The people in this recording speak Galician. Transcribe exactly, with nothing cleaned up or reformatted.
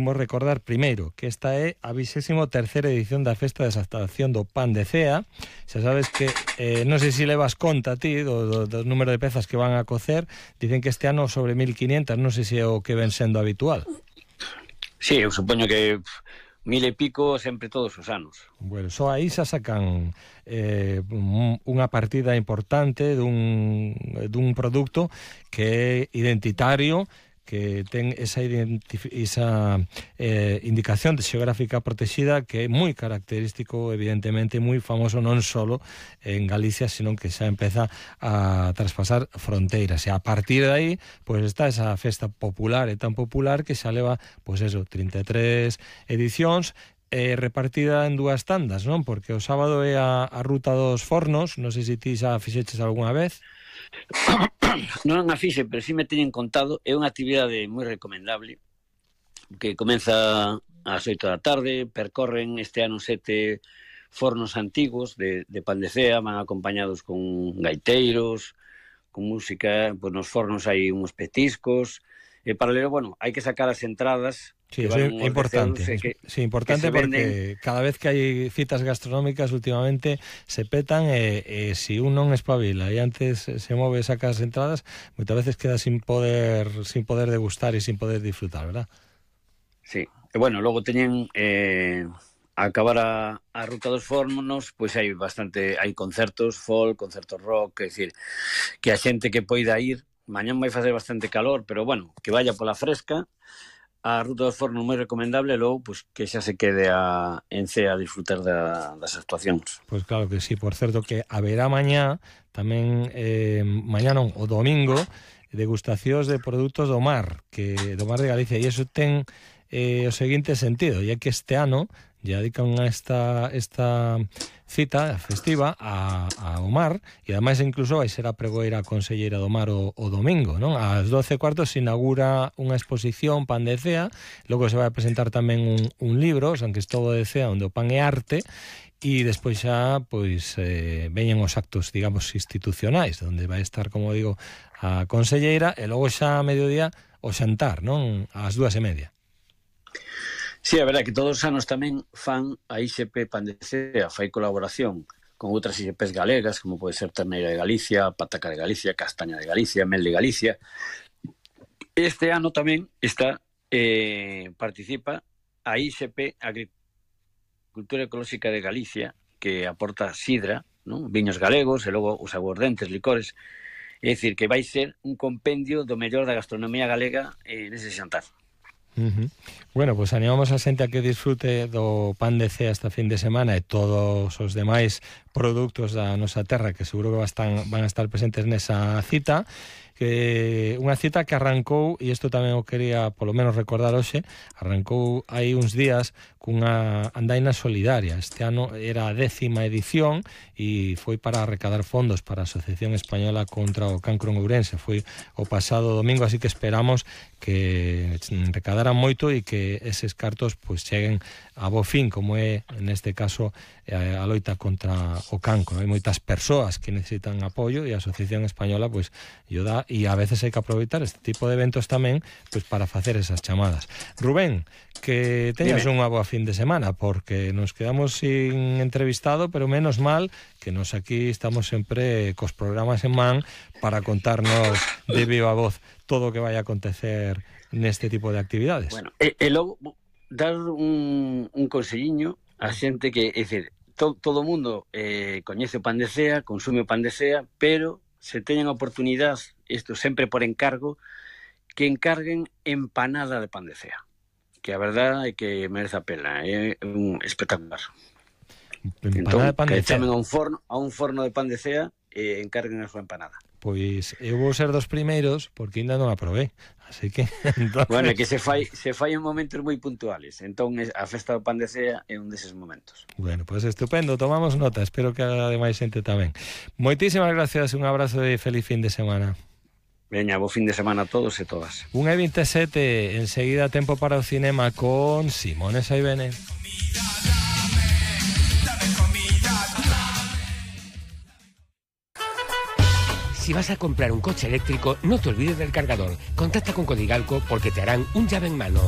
imos recordar primeiro que esta é a vigésimo terceira edición da Festa de Exaltación do Pan de Cea. Xa sabes que, eh, non sei se levas conta ti do, do, do número de pezas que van a cocer. Dicen que este ano sobre mil quinientas, non sei se é o que ven sendo habitual. Sí, eu supoño que mil e pico sempre todos os anos. Bueno, só aí xa sacan eh, unha partida importante dun, dun produto que é identitario, que ten esa, esa eh, indicación de xeográfica protexida que é moi característico, evidentemente, moi famoso non só en Galicia, sino que xa empeza a traspasar fronteiras. E a partir de aí, pois pues, está esa festa popular, e tan popular que xa leva, pois pues eso, trinta e tres edicións, eh, repartida en dúas tandas, non? Porque o sábado é a, a ruta dos fornos, non sei se ti xa fixeches algunha vez. Non a fixe, pero si me teñen contado. É unha actividade moi recomendable que comeza ás oito da tarde. Percorren este ano sete fornos antigos de, de Pan de Cea, van acompañados con gaiteiros, con música. Pois nos fornos hai uns petiscos. E paralelo, bueno, hai que sacar as entradas. Sí, eso é importante. Que, sí, importante porque venden... cada vez que hai citas gastronómicas últimamente se petan e, e si un non espabila e antes se move e saca as entradas, moitas veces queda sin poder sin poder degustar e sin poder disfrutar, ¿verdad? Sí. E bueno, logo teñen eh, a acabar a, a ruta dos fornos, pois hai bastante, hai concertos folk, concertos rock, é dicir, que a xente que poida ir, mañán vai facer bastante calor, pero bueno, que vaya pola fresca. A ruta dos fornos moi recomendable, logo pues, que xa se quede a, en Cea a disfrutar da, das actuacións. Pois pues claro que sí, por certo que haberá mañá tamén, eh, mañá non, o domingo, degustacións de produtos do mar, que do mar de Galicia, e iso ten eh, o seguinte sentido, e é que este ano lle dedican a esta, esta cita festiva a, ao mar, e ademais incluso vai ser a pregoeira conselleira do mar o, o domingo, non? Ás doce e cuarto se inaugura unha exposición Pan de Cea, logo se vai a presentar tamén un, un libro, San Cristóbal de Cea, onde o pan é arte, e despois xa pois eh, veñen os actos, digamos, institucionais, onde vai estar, como digo, a conselleira, e logo xa a mediodía o xantar, non? Ás dúas e media. Sí, é verdade que todos os anos tamén fan a I X P Pan de Cea, fai colaboración con outras I X Ps galegas, como pode ser Terneira de Galicia, Pataca de Galicia, Castaña de Galicia, Mel de Galicia. Este ano tamén está eh, participa a I X P Agricultura Ecolóxica de Galicia, que aporta sidra, non? Viños galegos e logo os aguardentes, licores. É dicir, que vai ser un compendio do mellor da gastronomía galega eh, nese xantar. Uh-huh. Bueno, pues animamos a xente a que disfrute do Pan de Cea esta fin de semana e todos os demais produtos da nosa terra que seguro que van, van a estar presentes nesa cita, que unha cita que arrancou, e isto tamén o quería polo menos recordar hoxe, arrancou hai uns días cunha andaina solidaria. Este ano era a décima edición e foi para recadar fondos para a Asociación Española contra o Cancro en Ourense. Foi o pasado domingo, así que esperamos que recadaran moito e que eses cartos pois cheguen a bo fin, como é neste caso a loita contra o cancro. Hai moitas persoas que necesitan apoio e a Asociación Española pois lle dá, e a veces hai que aproveitar este tipo de eventos tamén pois para facer esas chamadas. Rubén, que teñas unha boa fin de semana, porque nos quedamos sin entrevistado, pero menos mal que nos aquí estamos sempre cos programas en man para contarnos de viva voz todo o que vai a acontecer neste tipo de actividades. Bueno, e, e logo dar un, un conselliño a xente que, é dicir, to, todo o mundo eh, coñece o Pan de Cea, consume o Pan de Cea, pero se teñen a oportunidade, isto sempre por encargo, que encarguen empanada de Pan de Cea, que a verdade é que merece a pena, é un espectacular. Empanada entón, de Pan de que Cea. chamen a un forno, a un forno de Pan de Cea e encarguen a súa empanada. Pois eu vou ser dos primeiros porque ainda non a probei, así que entonces... Bueno, é que se fai se fai en momentos moi puntuales, entón a festa do Pan de Cea é un deses momentos. Bueno, pois pues estupendo, tomamos nota, espero que haga de máis xente tamén. Moitísimas gracias, un abrazo e feliz fin de semana. Veña, bo fin de semana a todos e todas. unha e vinte e sete, enseguida tempo para o cinema con Simone Saibene. Si vas a comprar un coche eléctrico, no te olvides del cargador. Contacta con Codigalco porque te harán un llave en mano.